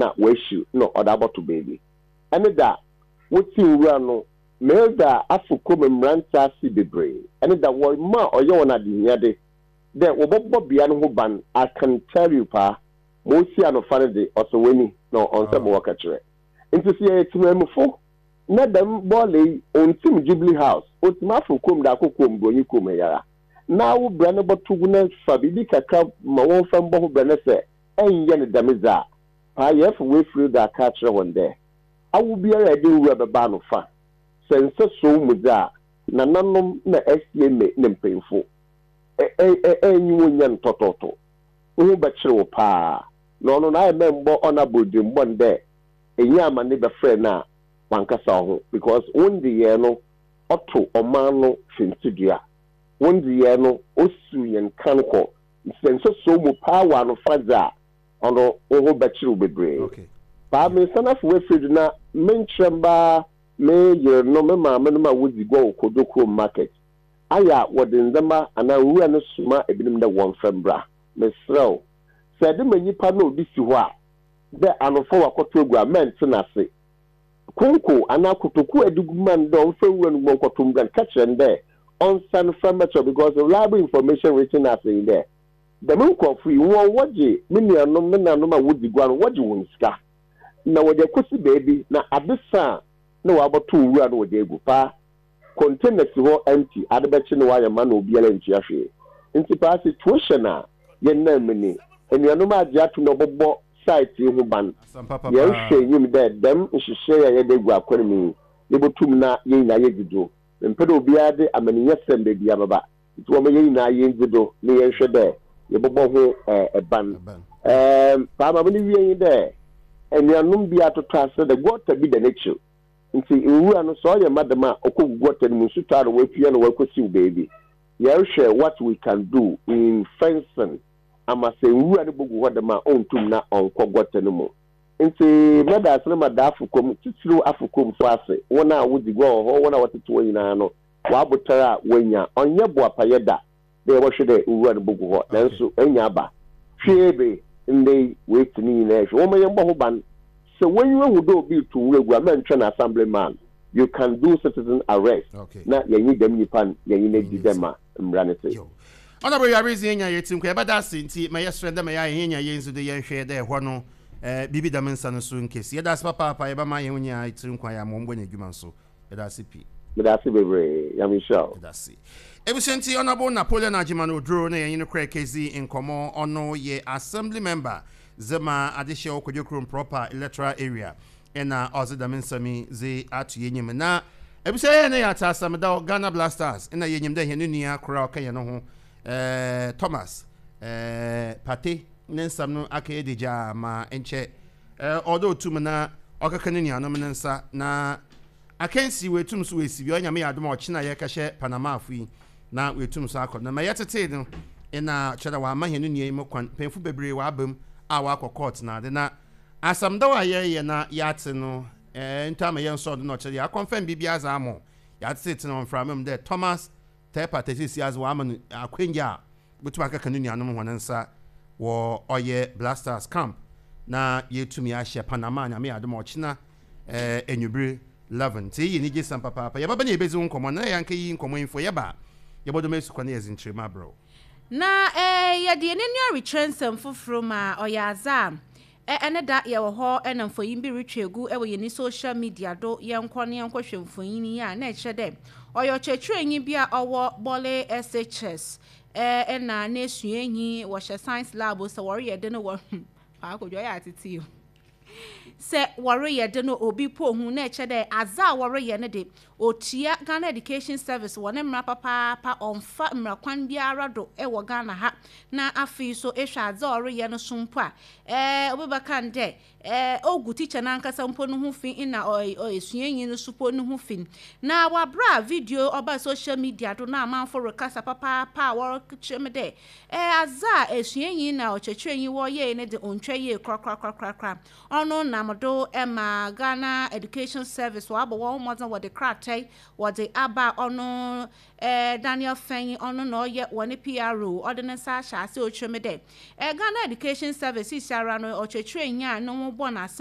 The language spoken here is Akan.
na oehwir na ɔdze abɔto beebi. Ɛne da wotsi nwura no, Milda afo kurom mberantsɛ ase beberee. Ɛne da wɔma ɔyɛ hɔn adehiade dɛ wɔbɔbɔ bea no ho ban. I can tell you paa, ma osi anofa no dze, ɔsɔ w'enyi na ɔnnsɛ ma wɔka kyerɛ. Ntsi sɛ yɛyɛ tsemanmufo na dɛm bɔɔla yi onntsim Jubilee House, otsim afo kurom dze akɔ kurom, Bronyi kurom ha yi ara, na wo bra no bɔto gu na fa biribi kakra ma wɔmfa mbɔ ho bra na sɛ ennyɛ no dɛm dze a, paa yɛrefa w'efir do aka akyerɛ hɔn dɛ, awo biara a edze nwura bɛba ano fa, sɛ nsa suo wo mu dze a, nananom na SCMA na mpanyimfo ɛ-ɛ-ɛ-ɛ-nnye wo nnyɛ no tɔtɔɔtɔ. Wo ho bɛkyer wo paa. Na ɔno no ayɛ mɛ mmbɔ ɔno abɔdzembɔ no dɛ enye amane bɛfrɛ no a ɔannkasa wo ho because wo ndzeyɛɛ no ɔto ɔman no fintsidua. Wo ndzeyɛɛ no osiw hɛn kan kɔ. Ntsi sɛ nsa suo wo mu paa wɔ anofa dze a, ɔno wo ho bɛkyer wo beberee. Okay. Paa meresan afa w'efir do na menkyerɛ mbaa me yernom, me maamenom a wodzi gua wɔ Kojo kurom market. Ayɛ a wɔdze ndzɛmba anaa nwura no soma binom dɛ wɔmfa mbra. Meserɛ wo, sɛ edze ma nyimpa na obi si hɔ a, dɛ anofa ɔakɔtow egu a, mɛnntse n'ase. Konko anaa kotoku a edze gu ma no dɛ ɔmfa nwura no gu mu ɔnkɔtow mbra no, ka kyerɛ no dɛ ɔnsan mfa mbɛkyerɛ wo because reliable information reaching us nye dɛ, Dɛm nkorɔfo yi, hɔn wɔgye me nuanom, me nanom a wodzi gua no, wɔgye hɔn sika, na wɔdze ekosi beebi, na adze sa a, nna wɔabɔtow nwura no wɔdze egu. Paa, container si hɔ empty, adze bɛkye na wɔayɛ ma na obiara nntua hwee. Ntsi paa, situation a yɛnam mu ni. Enuanom agye ato na wɔbɔbɔ site yi ho ban. Asɛm papa Yɛrohwɛ paa. enyim dɛ dɛm nhyehyɛɛ a yɛdze egu akwan mu yi, yebotum na hɛn nyina yedzi do. Memmpɛ dɛ obiara dze amaninyɛsɛm beebiara bɛba. Ntsi wɔma hɛn nyina yendzi do na yɛnhwɛ dɛ yɛbɔbɔ ho ban. Paa ma mene wie nye dɛ, enuanom bi atotɔ ase dɛ guɔta bi da n'ekyir. Ntsi nwura no sɛ ɔyɛ ma dɛm a okogu guɔta no mu, nsu tɔ a na oepia na oekosiw beebi. Yɛrohwɛ what we can do in fencing ama sɛ nwura no bogu hɔ dɛm a onntum na ɔnnkɔ guɔta no mu. Ntsi mɛda ase na mada afokwam, tsitsiriw afokwamfo ase, hɔn a wodzi gua wɔ hɔ, hɔn a wɔtsetse hɔ nyina no, W'abotar a woenya, ɔnnyɛ boapayɛ da dɛ yɛbɔhwɛ dɛ nwura no bogu hɔ, nanso enya aba. Hwɛ ebe, ndɛ yi woetsi ne nyina ehwɛ. Wɔmma yɛmbɔ ho ban. Sɛ w'enyiwa hu dɛ obi rotow nwura gu a, mma nntwɛn assembly man. You can do citizen arrest na yɛnye dɛm nyimpa no yɛnye no edzi dɛ ma mbra no tse. Yo. Honourable Wiaredzi yenya yɛtsi nkwa yɛbɛda ase ntsi ma yɛserɛ dɛ ma yɛayɛ hɛn nya yɛndzi do yɛnhwɛ dɛ hɔ no eh biribi dɛm nsa no so nnkesi. Yɛda ase papaapa yɛbɛma hɛn nyinaa tsir nkwa yɛ ama wɔmbɔ hɛn edwuma nso. Meda ase pii. Meda ase bebree. Nyame nhyira wo. Meda ase. Ebusua ntsi Honourable Napoleon Agyeman Oduro na yɛnye no kɔr ekedzi nkɔmbɔ. Ɔno yɛ Assembly Member dze ma Adehyeɛ wɔ Kwadwo Kurom Proper Electoral Area na ɔdze dɛm nsɛm yi dze ato yenyim. Na ebusua yɛn na yɛatse asɛm da Ghana Black Stars na yenyim dɛ hɛn nua kor a ɔka hɛn ho Thomas Partey ne nsɛm no akɛyɛ degyaa ma nkyɛ ɔwɔ dɛ otum na ɔkɛka no nuanom ne nsa na akansi oetum so oesi bi. Ɔyɛ Nyame yɛ adom a ɔkyen a yɛrekɛhyɛ Panamafo yi na oetum so akɔ. Na ma yɛtsetsee no nna kyerɛ dɛ wɔama hɛn nua yi mu kwan. Mpanyimfo beberee wɔaba mu a wɔakɔ court na adze. Na asɛm dɛw a yɛreyɛ na yɛatse no ntɔ ama yɛnnsɔr do na ɔkyerɛ dɛ yɛakɔnfɛm biribiara dze ama wo. Yɛatsetseetse no wɔ mframa mu dɛ Thomas Tepper sesei adze wɔama no akwanya a obotum akɛka no nuanom hɔn nsa wɔ ɔyɛ Black Stars camp na yeetumi ahyɛ Panama Nyame yɛ adom a ɔkyena ewimbir 11. Ntsi iyi yɛ enyigyesɛm papaapa. Yɛbɛba na yebedzi ho nkɔmbɔ na yɛannkɛyiyi nkɔmbɔ yi mfo yɛba a yɛbɔdɔm esu kwan na yɛdze nkyerɛmu abrɛ wo. Na yɛde yɛn ani rekyerɛ nsɛm foforo ma ɔyɛ adze a Ɛne da yɛwɔ hɔ na mfonyin bi rotwa egu wɔ hɛn social media do, yɛnkɔ na yɛnkɔhwɛ mfonyin yi a, nna ɛkyerɛ dɛ ɔyɛ ɔkyerɛkyerɛnyi bi a ɔwɔ Bole SHS na n'esuanyi, wɔhyɛ science lab sɛ wɔreyɛ de no wɔ Paa Kojo ɔyɛ atsetse o. Sɛ wɔreyɛ de no obi po hu na ɛkyerɛ dɛ adze a wɔreyɛ no de otua Ghana Education Service wɔ ne mmara papaapa ɔmmfa mmara kwan biara do wɔ Ghana ha na afei so ehwɛ adze a ɔreyɛ no so mpo a eh obi bɛka no dɛ eh ogu teacher nankasa mpo no ho fi nna osuanyi no so po no ho fi. Na wɔ aber a video ɔbaa social media do na amamfo rekasa papaapa a wɔrekyerɛ me dɛ eh adze a esuanyi na ɔkyerɛkyerɛnyi wɔreyɛe no dze onntwa yie korakorakorakoraa. Ɔno nam do ma Ghana Education Service wɔabɔ wɔn mmɔdzen wɔde krataa yi wɔdze aba a ɔno Daniel Fenyi ɔno na ɔyɛ wɔn PRO ɔde ne nsa ahyɛ ase ɔrekyerɛ mu dɛ Ghana Education Service sisiara no ɔkyerɛkyerɛnyi a no ho bɔ n'ase.